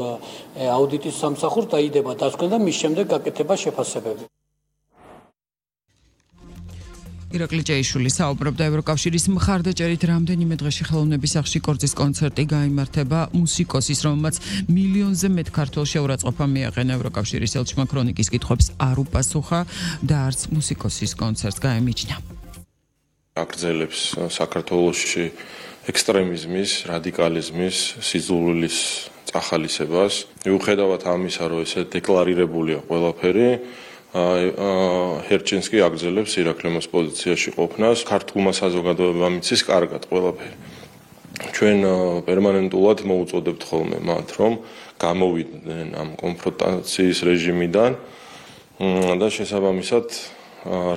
აუდიტის სამსახურს დაიდება დასკვნა და მის შემდეგ გაკეთება შეფასებები. ირაკლი ჭეიშვილი საუბრობდა ევროკავშირის მხარდაჭერით რამდენიმე დღეში ხელოვნების სახლში კორძის კონცერტი გაიმართება მუსიკოსის, რომელმაც მილიონზე მეტ ქართველ შეურაცხყოფა მიაყენა. ევროკავშირის ელჩმა ქრონიკის კითხვებს არ უპასუხა და არც მუსიკოსის კონცერტს გაემიჯნა. აგრძელებს საქართველოში ექსტრემიზმის, რადიკალიზმის, სიძულვილის წახალისებას. მიუხედავად ამისა, რომ ესე დეკლარირებულია ყველაფერი, ჰერჩინსკი აგრძელებს ირაკლიმოს პოზიციაში ყოფნას. ქართულმა საზოგადოებამ იცის კარგად ყველაფერი. ჩვენ პერმანენტულად მოუწოდებთ ხოლმე მათ, რომ გამოვიდნენ ამ კონფრონტაციის რეჟიმიდან და შესაბამისად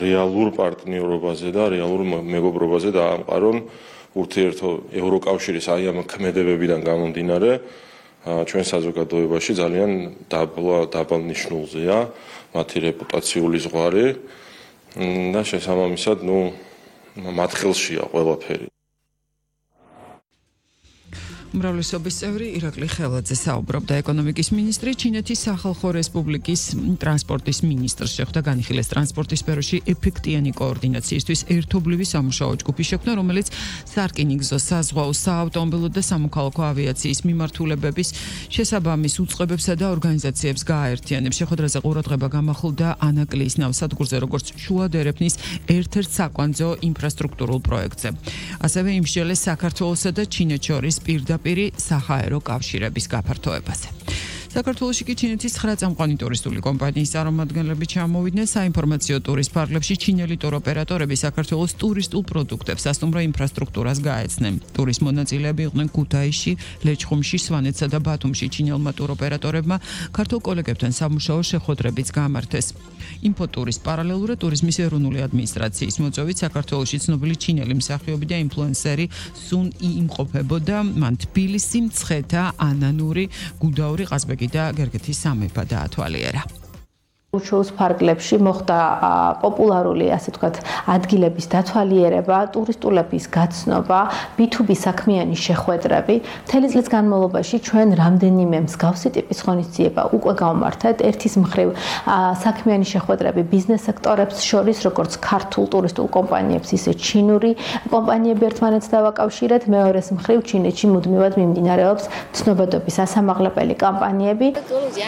რეალურ პარტნიორობაზე და რეალურ მეგობრობაზე დაამყარონ ურთიერთო ევროკავშირის აი ამ ქმედებებიდან გამომდინარე ჩვენ საზოგადოებაში ძალიან დაბალ ნიშნულზეა მათი რეპუტაციული ზღვარი და შესაბამისად მათ ხელშია ყველაფერი. უმრავლესობის წევრი ირაკლი ხელაძე საუბრობდა. ეკონომიკის მინისტრი ჩინეთის სახალხო რესპუბლიკის ტრანსპორტის მინისტრს შეხვდა. განიხილეს ტრანსპორტის სფეროში ეფექტიანი კოორდინაციისთვის ერთობლივი სამუშაო ჯგუფი შექმნა, რომელიც სარკინიგზო, საზღვაო, საავტომობილო და სამოქალაქო ავიაციის მიმართულებების შესაბამის უწყებებსა და ორგანიზაციებს გააერთიანებს. შეხვედრაზე ყურადღება გამახვილდა ანაკლიის ნავსადგურზე, როგორც შუადერეფნის ერთ-ერთ საკვანძო ინფრასტრუქტურულ პროექტზე. ასევე იმსჯელეს საქართველოსა და ჩინეთს შორის პირდაპირ საჰაერო კავშირების გაფართოებაზე. საქართველოში კი ჩინეთის 9 წამყვანი ტურისტული კომპანიის წარმომადგენლები ჩამოვიდნენ საინფორმაციო ტურის ფარგლებში. ჩინელი ტუროპერატორები საქართველოს ტურისტულ პროდუქტებს, სასტუმრო ინფრასტრუქტურას გაეცნენ. ტურის მონაწილეები იყვნენ ქუთაისში, ლეჩხუმში, სვანეთსა და ბათუმში. ჩინელმა ტუროპერატორებმა ქართულ კოლეგებთან სამუშაო შეხვედრებიც გამართეს. ინფოტურის პარალელურად ტურიზმის ეროვნული ადმინისტრაციის მოწვევით საქართველოში ცნობილი ჩინელი მსახიობი და ინფლუენსერი სუნ ი იმყოფებოდა. მან თბილისი, მცხეთა, ანანური, გუდაური, ყაზბეგი და გერგეთის სამეფო დაათვალიერა. შოუს ფარგლებში მოხდა პოპულარული, ასე ვთქვათ, ადგილების დათვალიერება, ტურისტულების გაცნობა, B2B საქმიანი შეხვედრები. მთელი წლის განმავლობაში ჩვენ რამდენიმე მსგავსი ტიპის ღონისძიება უკვე გავმართეთ. ერთის მხრივ საქმიანი შეხვედრები ბიზნეს სექტორებს შორის, როგორც ქართულ ტურისტულ კომპანიებს, ისე ჩინური კომპანიები ერთმანეთს დავაკავშირეთ. მეორეს მხრივ ჩინეთში მუდმივად მიმდინარეობს ცნობადობის ასამაღლებელი კამპანიები.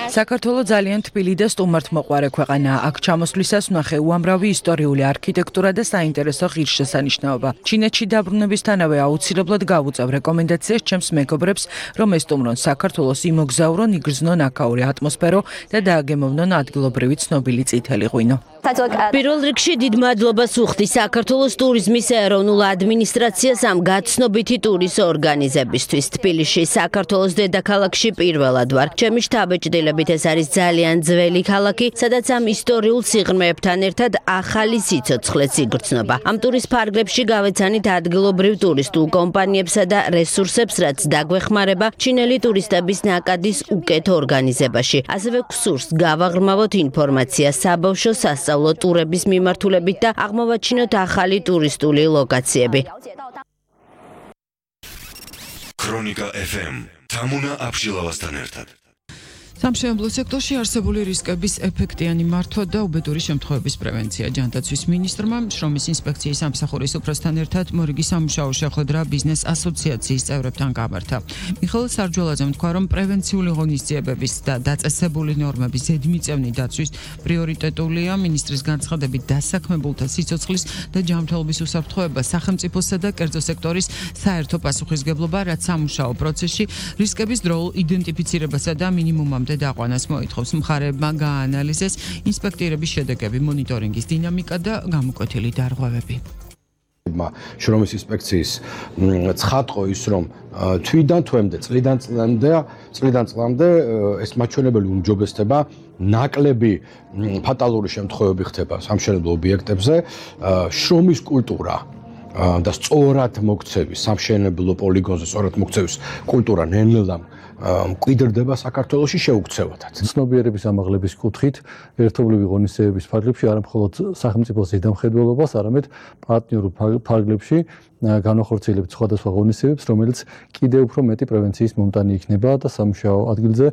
საქართველოს ძალიან თბილი და სტუმართმოყვარე ქვეყანა. აქ ჩამოსვლისას ვნახე უამრავი ისტორიული არქიტექტურა და საინტერესო ღირსშესანიშნაობა. ჩინეთში დაბრუნებისთანავე აუცილებლად გავუწევ რეკომენდაციას ჩემს მეგობრებს, რომ ესტუმრონ საქართველოს, იმოგზაურონ, იგრძნონ აქაური ატმოსფერო და დააგემოვნონ ადგილობრივი ცნობილი წითელი ღვინო. პირველ რიგში დიდ მადლობას ვუხდი საქართველოს ტურიზმის ეროვნულ ადმინისტრაციას ამ გაცნობითი ტურის ორგანიზებისთვის. თბილისში, საქართველოს დედაქალაქში პირველად ვარ. ჩემი შთაბეჭდილებით ეს არის ძალიან ძველი ქალაქი, სადაც ამ ისტორიულ სიღრმეებთან ერთად ახალი სიცოცხლეც იგრძნობა. ამ ტურის ფარგლებში გავეცანით ადგილობრივ ტურისტულ კომპანიებსა და რესურსებს, რაც დაგვეხმარება ჩინელი ტურისტების ნაკადის უკეთ ორგანიზებაში. ასევე გსურს გავაღრმავოთ ინფორმაცია საბავშვო სასწავლო ტურების მიმართულებით და აღმოვაჩინოთ ახალი ტურისტული ლოკაციები. ქრონიკა FM თამუნა აბშილავასთან ერთად. სამშენებლო სექტორში არსებული რისკების ეფექტიანი მართვა და უბედური შემთხვევების პრევენცია. ჯანდაცვის მინისტრმა შრომის ინსპექციის სამსახურის უფროსთან ერთად მორიგი სამუშაო შეხვედრა ბიზნეს ასოციაციის წევრებთან გამართა. მიხეილ სარჯველაძემ თქვა, რომ პრევენციული ღონისძიებების და დაწესებული ნორმების ზედმიწევნი დაცვის პრიორიტეტულია. მინისტრის განცხადებით დასაქმებულთა სიცოცხლის და ჯანმრთელობის უსაფრთხოება სახელმწიფოსა და კერძო სექტორის საერთო პასუხისგებლობა, რაც სამუშაო პროცესში რისკების დროულ იდენტიფიცირებასა და მინიმუმამდე დაყვანას მოითხოვს. მხარეებმა გააანალიზეს ინსპექტირების შედეგები, მონიტორინგის დინამიკა და გამოკვეთილი დარღვევები. შრომის ინსპექციის ცხადყო ის, რომ თვიდან თვემდე, წლიდან წლამდე ეს მაჩვენებელი უმჯობესდება, ნაკლები ფატალური შემთხვევები ხდება სამშენებლო ობიექტებზე, შრომის კულტურა და სწორად მოქცევის, სამშენებლო პოლიგონზე სწორად მოქცევის კულტურა ნელ-ნელა მკვიდრდება საქართველოში შეუქცევადაც. ცნობიერების ამაღლების კუთხით ერთობლივი ღონისძიებების ფარგლებში არა მხოლოდ სახელმწიფოს ზედამხედველობას, არამედ პარტნიორულ ფარგლებში განახორციელებთ სხვადასხვა ღონისძიებებს, რომელიც კიდევ უფრო მეტი პრევენციის მომტანი იქნება და სამუშაო ადგილზე